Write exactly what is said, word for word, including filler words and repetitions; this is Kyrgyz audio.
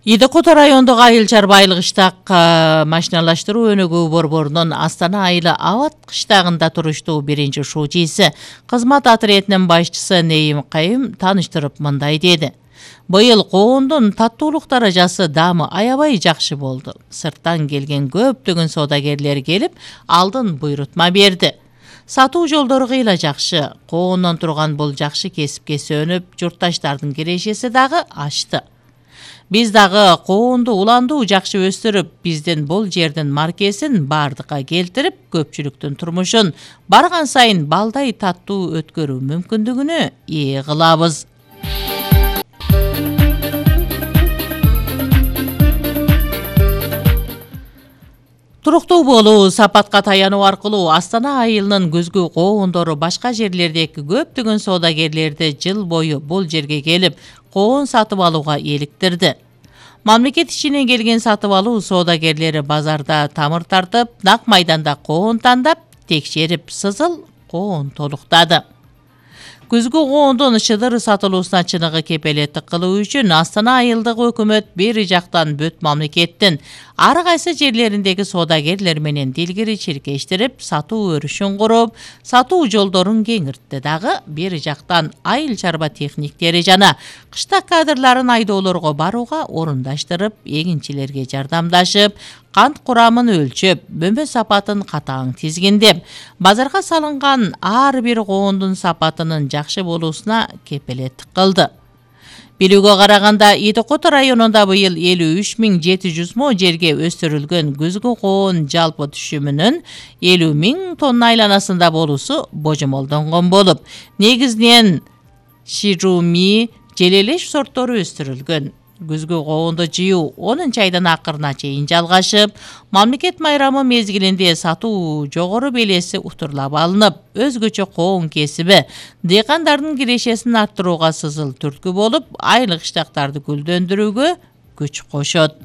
Идекото райондук айыл чарба айыл кыштак машиналаштыруу өнүгүү борборунун Астана айылы Абат кыштагында туруштуу биринчи шуучиси кызмат отрядынын башчысы Нейим Кайым таныштырып мындай деди. Быйыл коондун таттуулук даражасы даамы аябай жакшы болду. Сырттан келген көптөгөн соодагерлер келип, алдын буйрутма берди. Сатуу жолдору кыйла жакшы. Коондон турган бул жакшы кесипке сөнүп, журтташтардын кирешеси дагы ачты. Биз дагы коонду уландуу жакшы өстүрүп, биздин бул жердин маркесин бардыкка келтирип, көпчүлүктүн турмушун барган сайын балдай таттуу өткөрүү мүмкүндүгүнө ээ кылабыз. Туруктуу болуу, сапатка таянуу аркылуу Астана айылынын көзгү коондору башка жерлердеки көптөгөн соодагерлерди жыл бою бул жерге келип, коон сатып алууга эликтирди. Мамлекет ишинен келген сатып алуу соодагерлери базарда тамыр тартып, нак майданда коон тандап, текшерип, сызыл коон толуктады. Күзгү коондун шыдыр сатылуусуна чыныгы кепелеттик кылуу үчүн Астана айылдык өкмөт бери жактан бөт мамлекеттин ар кайсы жерлериндеги соодагерлер менен дилгири чиркештирип, сатуу өрүшүн куруп, сатуу жолдорун кеңиртти дагы, бери жактан айыл чарба техниктери жана кыштак кадрларын айдоолорго барууга орундаштырып, эгинчилерге жардамдашып, кант курамын өлчөп, бөмбө сапатын катаң тизгиндеп, базарга салынган ар бир коондун сапатынын жакшы болуусуна кепелеттик кылды. Билүүгө караганда, Идекото районунда быйыл элүү үч миң жети жүз мо жерге өстүрүлгөн күзгү коон жалпы түшүмүнүн элүү миң тонна айланасында болуусу божомолдонгон болуп, негизинен Шируми, Желелеш сорттору өстүрүлгөн. Күзгү коонду жыйуу онунчу айдын акырына чейин жалгашып, мамлекет майрамы мезгилинде сатуу жогору белеси утурлап алынып, өзгөчө коон кесиби дыйкандардын кирешесин арттырууга сызыл түрткү болуп, айыл кыштактарды гүлдөндүрүүгө күч кошот.